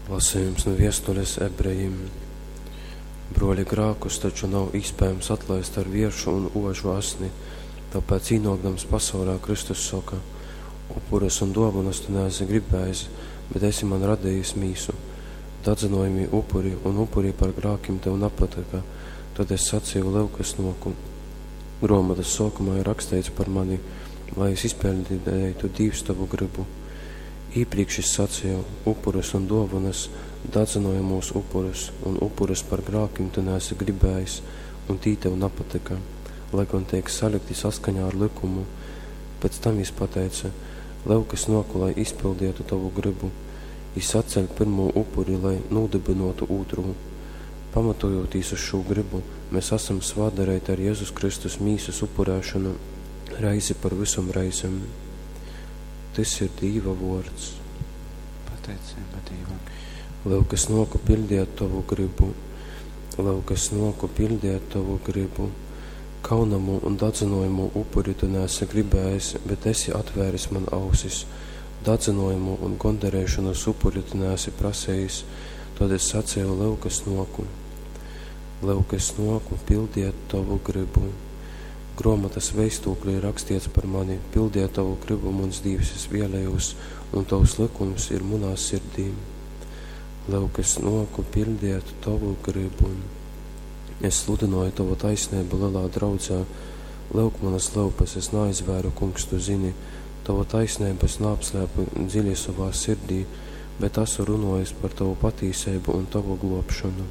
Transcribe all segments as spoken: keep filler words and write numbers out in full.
Lasejums nu viestules ebrejim. Bruoļi, grākus taču nav iespējams atlaist ar vieršu un ožu asni, tāpēc īnōkdams pasaulē Kristus soka: Upurus un dōvanas tu neesi gribējis, bet esi man radījis mīsu. Dadzynojamī upuri un upuri par grākim tev napatyka, tad es sacīju: Lyuk, es nōku. Grōmotas sōkumā ir raksteits par mani, lai es izpiļdeitu, Dīvs, tovu grybu. Īprīkš jis saceja: Upurus un dōvonas, dadzynojamūs upurus un upurus par grākim tu neesi gribējis, un tī tev napatyka, lai gon teik salikti saskaņā ar lykumu. Pēc tam jis pateice: Lyuk, es nōku, lai izpildietu tovu grybu. Jis atceļ pyrmū upuri, lai nūdybynōtu ūtrū. Pamatojotīs uz šū grybu, mēs asam svātdareiti ar Jezus Kristus mīsas upurēšonu reizi par vysom reizem. Tys ir Dīva vōrds. Pateiceiba Dīvam. Lyuk, es nōku piļdiet tovu grybu. Lyuk, es nōku piļdiet tovu grybu. Kaunamu un dadzynojamu upuri tu neesi gribējis, bet esi atvēris man ausis. Dadzynojamu un gondareišonas upuri tu neesi prasejis, tad es sacīju: Lyuk, es nōku. Lyuk, es nōku pildiet tovu grybu. Grōmatas veistūklī rakstiets par mani, pildiet tovu grybu, muns Dīvs, es vēlējos, un tovs likums ir munā sirdī. Lyuk, es nōku pildiet tovu grybu. Es sludināju tovu taisnību lielā draudzē. Lyuk, manas lyupas es neaizvēru, kungs, tu zini. Tavu taisnību es neapslēpu dziļi savā sirdī, bet esmu runājis par tavu patīsību un tavu glābšanu.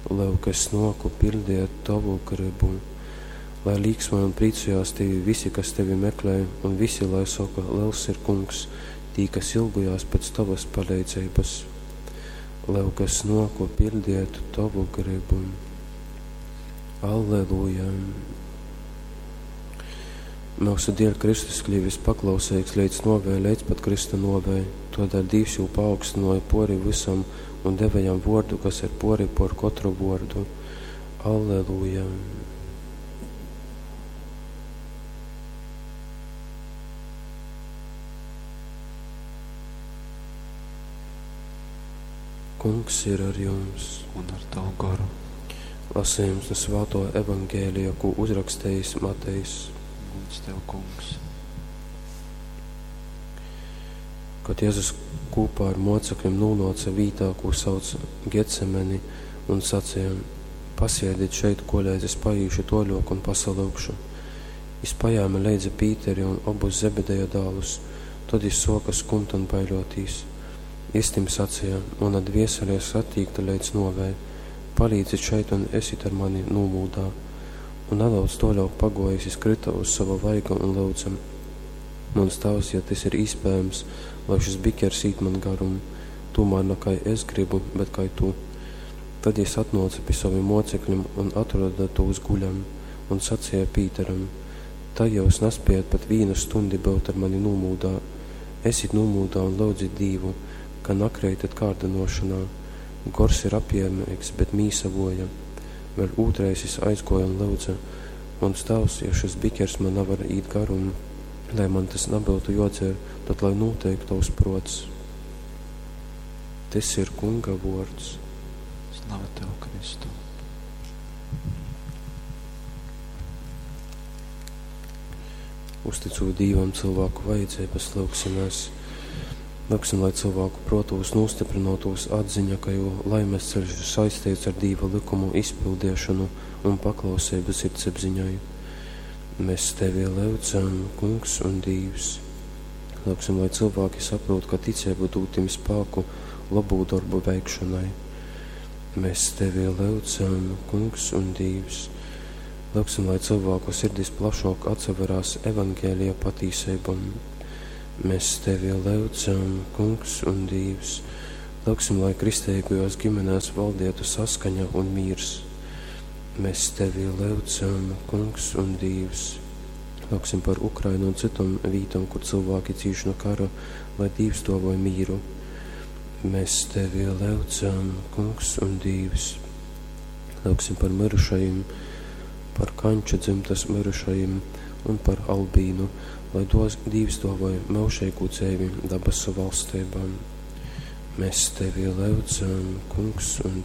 Lyuk, es nōku pildiet tavu gribu. Lai līksmoj un priecājās tevi visi, kas tevi meklē, un visi, lai saka: liels ir kungs, tī, kas ilgojās pēc tavas paleidzības. Lyuk, es nōku pildiet tavu gribu. Alleluja! Mūsu dēļ Kristus kļuvis paklausīgs līdz novei, līdz pat Krista novei. Todēļ Dīvs jū paaugstināja pori visam un deva jam vordu, kas ir pori por katru vordu. Alleluja! Kungs ir ar jums. Un ar tavu goru. Lasījums no Svāto Evangēlija, ko uzrakstījis Matejs. Gods tev, kungs. Kad Jēzus kopā ar mocekļiem nonāca vītā, ko sauc Getsemeni, un sacīja: Pasiediet šeit, koleidz es paīšu toļok un pasalūgšu. Jis pajāma leidza Pīteri un obus Zebedeja dālus, tad jis soka skumt un baiļotīs. Jis tim sacīja: Mana dviesele ir satīkta līdz novei, palīdzit šeit un esit ar mani nūmūdā. Un nedaudz toļok pagojis, jis krita uz sava vaiga un lūdza: Mans tēvs, ja tas ir iespējams, lai šis bikers īt man garum, tomēr ne kā es gribu, bet kā tu. Tad jis atnāca pie saviem mocekļiem un atrada tos guļam, un sacīja Pīteram: Tā jūs nespējat pat vienu stundi būt ar mani nūmūdā. Esit nūmūdā un lūdzit Dīvu, ka nakreitat kārdinošanā. Gors ir apjēmīgs, bet mīsa voja. Vēl ūtreiz jis aizgoja un lūdza: Mans tēvs, ja šis bikers man nevar īt garum, lai man tas nebūtu jodzer, tad lai notiek tavs prots. Tas ir Kunga vords. Slava tev, Kristu. Uzticot Dīvam cilvēku vajadzības, lūgsimies. Lūgsim, lai cilvēku protos nostiprinotos atziņa, ka jo laimes ceļš ir saistīts ar Dīva likumu izpildiešanu un paklausību sirdsapziņai. Mēs tevi lūdzam, Kungs un Dīvs. Lūgsim, lai cilvēki saprot, ka ticība dod tim spēku labu darbu veikšanai. Mēs tevi lūdzam, Kungs un Dīvs. Lūgsim, lai cilvēku sirdis plašāk atsaverās evaņģēlija patīsībam. Mēs tevi lūdzam, Kungs un Dīvs. Lūgsim, lai kristīgajos ģimenēs valdietu saskaņa un mīrs. Mēs tevi lūdzam, Kungs un Dīvs. Lūgsim par Ukrainu un citom vītom, kur cilvēki cīš no kara, lai Dīvs dāvoj mīru. Mēs tevi lūdzam, Kungs un Dīvs. Lūgsim par mirušajiem, par Kanča dzimtas mirušajiem un par Albīnu, lai dos, Dīvs dāvoj mūžīgu dzīvi dabasu valstībām. Mēs tevi lyudzam, Kungs un